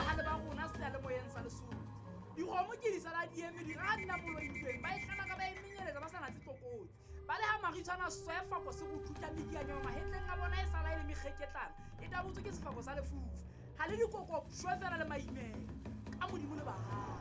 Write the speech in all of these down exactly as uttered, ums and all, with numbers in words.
Bahale ba rona seyalemoyeng sa Lesotho. Dikgomo ke di sala di eme di ra nna moloitsweng ba e hlana ka ba e menyeletsa ba sa natse tlokotsi. Ba le ha maritshwana sefako se go thutla medianyana mahetleng a bona e sala e le mekgeketlana e tabotswe ke sefako sa lefufa. Ha le dikoko shwe fela le maimela ka modimo le bahale.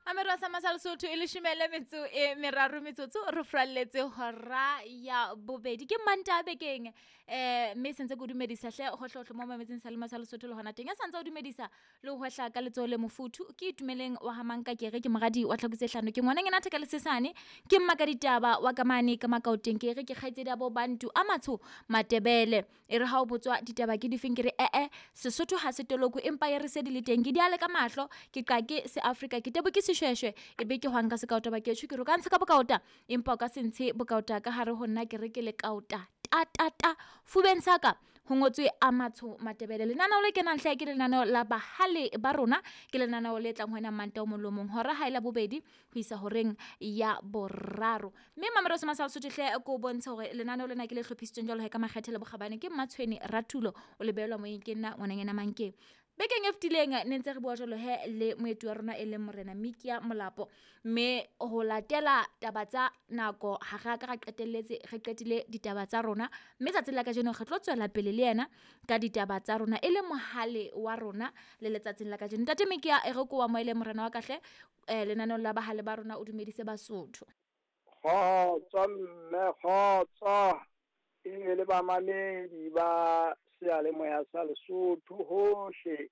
Amero sa masal Sotho e leshome le metso e meraro metsotso re fralletse hora ya bobedi ke Manta bekeng eh mme sentse go dumedisa hle hohlohlo mo mametseng sa le masal Sotho le hona teng ya santse o dumedisa le ho hwehla ka letsoho le mofuthu ke itumeleng wa hamanka ke re ke moradi wa tlhakutse hlano ke ngwana ngena theka le sesane ke mma ka ditaba wa kamane ka makaoteng ke re ke kgaitsedi ya bo bantu a matsho matebele e re ha o botswa ditaba ke difeng ke re eh eh Sesotho ha se toloko empa e re se di le teng ke di ale ka mahlo ke qake se Afrika ke tebo ke shweshwe e be ke hwang ka sekaota ba ke tjho ke re ka ntsha ka bokaota empa o ka se ntshe bokaota ka hare ho nna ke re ke le kaota ta ta ta fubeng saka ho ngotswe a matsho matebele. Lenaneo le kenang hle ke lenaneo la bahale ba rona ke lenaneo le tlang ho ena Manta o molomong hora ha ela bobedi ho isa horeng ya boraro mme Mamero se masal Sotho hle ko bontsha hore lenaneo lena ke le hlophisitsweng jwalo ka makgethe le bokgabane ke Mmatshweni Ratulo o lebelwa moyeng ke nna ngwananyana Mankeng. Bekeng e fetileng ne ntse re bua jwalo he le moeti wa rona e leng morena Mikia Molapo mme ho latela taba tsa nako ha re ka ra qetelletse re qetile ditaba tsa rona mme tsatsing la kajeno re tlo tswela pele le yena ka ditaba tsa rona e le mohale wa rona le letsatsing la kajeno. Ntate Mikia e re ko wa moele morena wa kahle eh lenaneo la bahale ba rona o dumedise Basotho. Kgotso mme kgotso e le bamamedi ba seyalemoya sa Lesotho hohle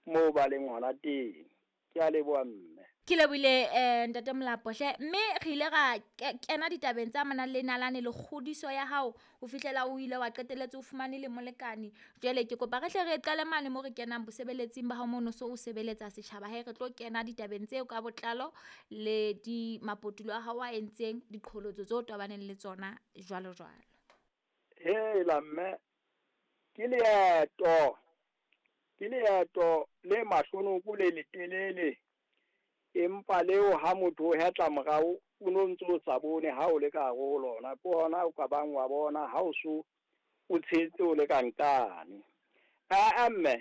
moo ba leng hona teng. Ke a leboha mme. Ke lebohile eh ntate Molapo hle mme re ile ra kena ditabeng tsa amanang le nalane le kgodiso ya hao ho fihlela o ile wa qetelletse o fumane le molekane. Jwale ke kopa re hle re qale mane mo re kenang bosebeletsing ba hao mono so o sebeletsa setjhaba he re tlo kena ditabeng tseo ka botlalo le di mapotulo a hao a entseng diqholotso tseo tobaneng le tsona jwalo jwalo. Hela mme ke leeto ke leeto le mahlonoko le letelele empa leo ha motho o hetla morao o no ntso o sa bone ha o le ka hare ho lona ke hona o ka bang wa bona ha o so o tshetse o le ka nkane. Aa mme